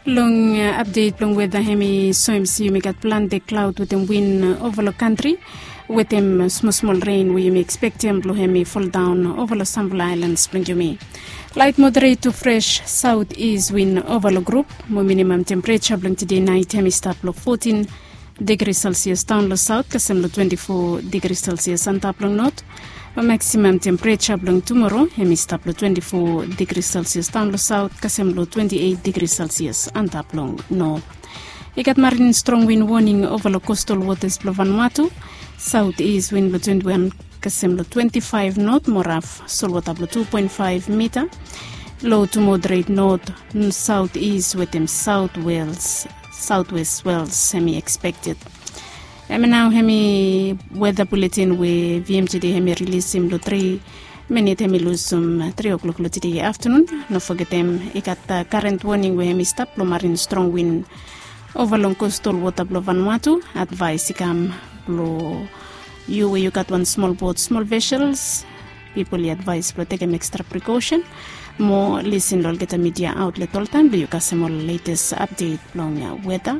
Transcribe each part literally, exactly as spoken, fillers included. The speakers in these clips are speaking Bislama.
Long apdet blong weda hem i soem se yumi gat plante klaod wetem win ova long kantri, wetem smosmol ren we yumi ekspektem blong hem i foldaon ova long samfala aelans blong yumi. Laet moderet tu fres saot is win ova long grup. Mo minimam tempereja blong tede naet hem i stap long fotin digri selsias daon long saot kasem long twenti fo digri selsias antap long not. Mo maksimam tempereja blong tumoro hem i stap long twenti fo digri selsias daon long saot kasem long twenti eit digri selsias antap long not. I gat marin strong win woning ova long kostal wotas blong Vanuatu. Saot is win blong twenti wan kasem long twenti faef not mo raf solwota blong tu poen faef mita. Lo tu moderet not, saot is wetem saot wels, saot wes wels hem i ekspekted. Hemi nao hemi weda buletin we vmtd hemi rilisim long tri minit hemi lusum tri o'klok long tede aftanun. No fogetem i gat karen woning we hemi stap long marin strong win ova long kostal wota blong Vanuatu. Advaes i kam blong yu we yu gat wan smol bot, smol vesels, pipol i advaes blong tekem ekstra prikosen. Mo lisin long olgeta midia aotlet oltaem blong yu kasem ol letes apdet blong weda.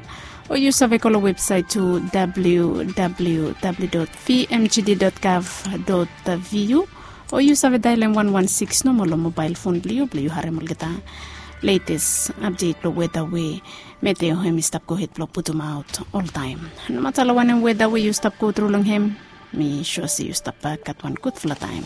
O yu save go long websaet tu www dot vmgd dot gov dot vu. O yu save daelem wan wan sikis nomo long mobael fon blong yu blong yu harem olgeta letes apdet blong weda we meteo hem i stap gohed blong putumaot oltaem. Nomata long wanem weda we yu stap gotru long hem, mi sua se yu stap gat wan gudfala taem.